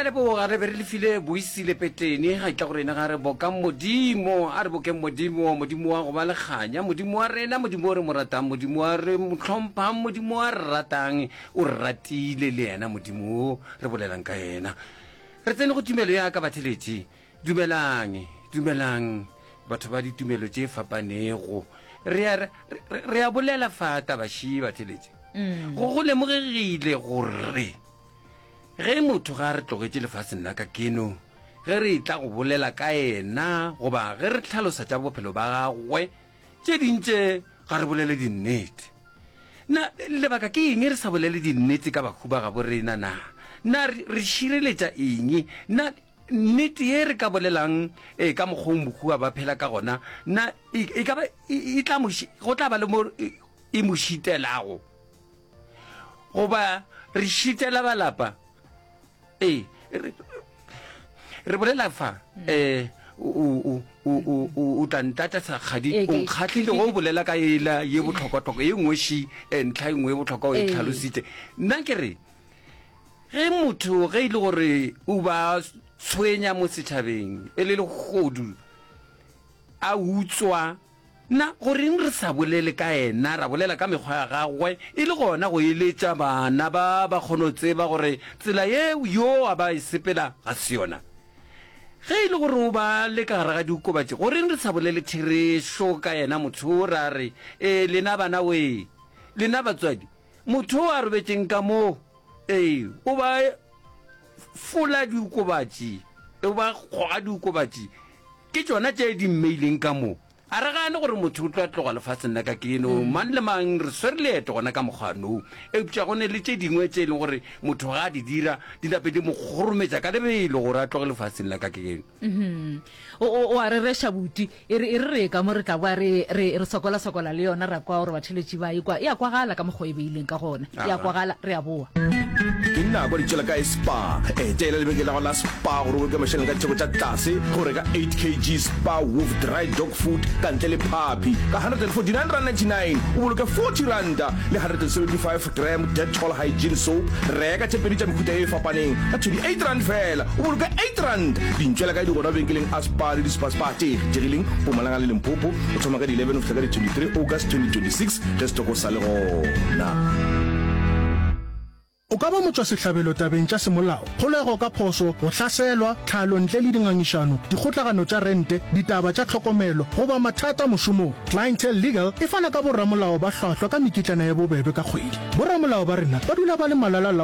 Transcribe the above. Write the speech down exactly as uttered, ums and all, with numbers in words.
Re a leboga, re be re lefile Boisile Petlene, ga etla go rena ga re bokang Modimo, a re bokeng Modimo, Modimo wa go ba le kganya, Modimo wa rena, Modimo o re mo ratang, Modimo wa re mo hlomphang, Modimo wa re ratang, o re ratile le yena Modimo o re bolelang ka yena. Re tsene go tumelo ya ka batheletši, dumelang, dumelang batho ba ditumelo tše fapanego. Re a, re, re a bolela fa taba ši batheletši. Go go lemogegile gore Ge motho ga a re tlogetše lefaseng la ka keno, ge re etla go bolela ka yena goba ge re hlalosa tša bophelo ba gagwe, tše ding tše ga re bolele dinnete. Na lebaka ke eng re sa bolele dinnete ka bahu ba gabo rena? Na na re, re šireletša eng? Na nnete ye re ka bolelang e, ka mokgwa o mohu a ba phela ka gona, na e, e ka ba e, e tla mo, go tla ba le mo e, e mo šitelago? Goba re šitela ba lapa? Ee, re, re bolela fa, um o, o, o, o, o tla ntata sakgadi, Ee, o ke- nkgahlile ke- ge o bolela ka ela ye bohlokwahlokwa, ye nngwe ši, eh, ntlha e nngwe ye bohlokwa o e Ee. tlhalositše. Nna ke re, ge motho ge e le gore o ba tshwenya mo setšhabeng, e le lehodu, a utswa, Na go reng re sa bolele ka yena, ra bolela ka mekgwa ya gagwe, e le gona go eletša bana ba ba kgone go tseba gore tsela ye yo a ba e sepela ga se yona? Ge e le gore o ba le ka gare ga diokobatši, go reng re sa bolele therešo ka yena motho wo, ra re, Ee, lena bana wee, lena batswadi, motho o a robetšeng ka mo, ee, o ba fola diokobatši, o ba goga diokobatši, ke tšona tše di mmeileng ka mo. A re gane gore motho o tlo tloga lefaseng la ka keno, mang le mang re swere leeto gona ka mokgwa no. Eupša go ne le tše dingwe tše e leng gore motho ga a di dira, di nape di mo kgorometša ka lebelo gore a tloge lefaseng la ka keno. O, o, o a rereša, buti. E re, e re re ye ka mo re tla boa re, re, re sokola-sokola le yona, ra kwa gore batheeletši ba e kwa. E a kwagala ka mokgwa o e beileng ka gona. E a Aha. kwagala, re a boa. Ke nako di tšwela kae Spar? Etela lebenkele la gago la Spar gore o boloke mašeleng ka ditheko tša tlase ge o reka eight kg Spar Woof Dry Dog Food ka ntle le phapi ka hundred and forty nine rand ninety nine, o boloke forty ranta le hundred and seventy five gram Dettol Hygiene Soap. Reka tše pedi tša mehuta ye e fapaneng ka twenty eight rand feela, o boloke eight rand. Dintšwela kae di gona mabenkeleng a Spar le di-Spar Spar tše kgethegileng Mpumalanga le Limpopo go thoma ka di eleven go fihla ka di twenty three August twenty twenty six ge setoko sa le gona. O ka ba motšwasehlabelo tabeng tša semolao, kgolego ka phošo, go hlaselwa, tlhalo ntle le dingangišano, dikgotlagano tša rente, ditaba tša tlhokomelo, goba mathata mošomong. Clientele Legal e fana ka boramolao ba hlwahlwa ka mekitlana ye bobebe ka kgwedi. Boramolao ba rena ba dula ba le malala-laola.